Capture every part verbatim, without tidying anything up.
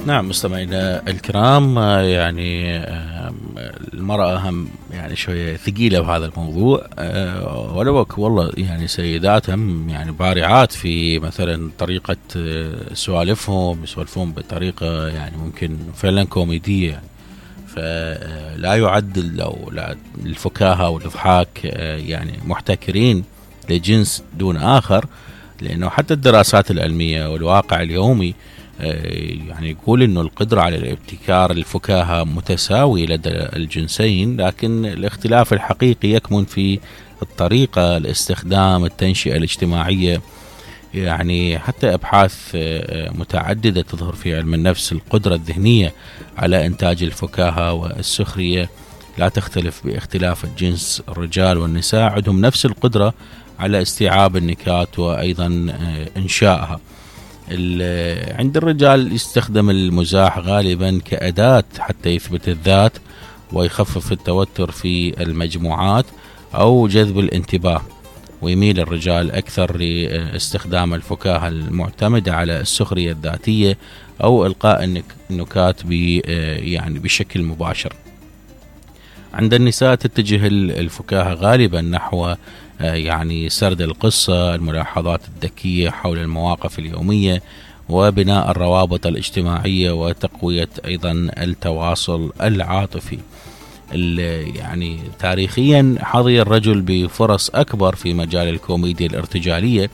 نعم مستمعينا الكرام، يعني المرأة هم يعني شوية ثقيلة بهذا الموضوع، ولو والله يعني سيدات هم يعني بارعات في مثلا طريقة سوالفهم، يسولفون بطريقة يعني ممكن فعلا كوميدية يعني. فلا يعد أو لا الفكاهة والإضحاك يعني محتكرين لجنس دون آخر، لأنه حتى الدراسات العلمية والواقع اليومي يعني يقول إنه القدرة على الابتكار الفكاهة متساوي لدى الجنسين، لكن الاختلاف الحقيقي يكمن في الطريقة، الاستخدام، التنشئة الاجتماعية. يعني حتى أبحاث متعددة تظهر في علم النفس القدرة الذهنية على إنتاج الفكاهة والسخرية لا تختلف باختلاف الجنس. الرجال والنساء عندهم نفس القدرة على استيعاب النكات وأيضا إنشائها. عند الرجال يستخدم المزاح غالبا كأداة حتى يثبت الذات ويخفف التوتر في المجموعات أو جذب الانتباه، ويميل الرجال أكثر لاستخدام الفكاهة المعتمدة على السخرية الذاتية أو إلقاء النكات يعني بشكل مباشر. عند النساء تتجه الفكاهة غالبا نحو يعني سرد القصة، الملاحظات الذكية حول المواقف اليومية، وبناء الروابط الاجتماعية، وتقوية أيضا التواصل العاطفي. يعني تاريخيا حظي الرجل بفرص أكبر في مجال الكوميديا الارتجالية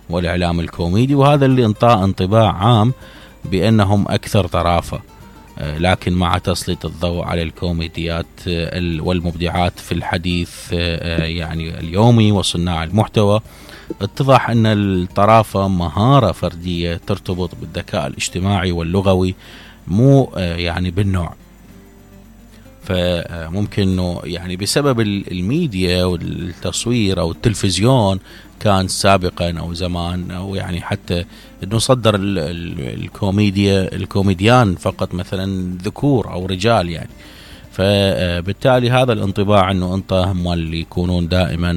والإعلام الكوميدي، وهذا اللي انطى انطباع عام بأنهم أكثر طرافة. لكن مع تسليط الضوء على الكوميديات والمبدعات في الحديث يعني اليومي وصناع المحتوى، اتضح أن الطرافة مهارة فردية ترتبط بالذكاء الاجتماعي واللغوي، مو يعني بالنوع. فممكن انه يعني بسبب الميديا والتصوير او التلفزيون كان سابقا او زمان، او يعني حتى انه صدر الكوميديا الكوميديان فقط مثلا ذكور او رجال يعني. فبالتالي هذا الانطباع انه انت هم اللي يكونون دائما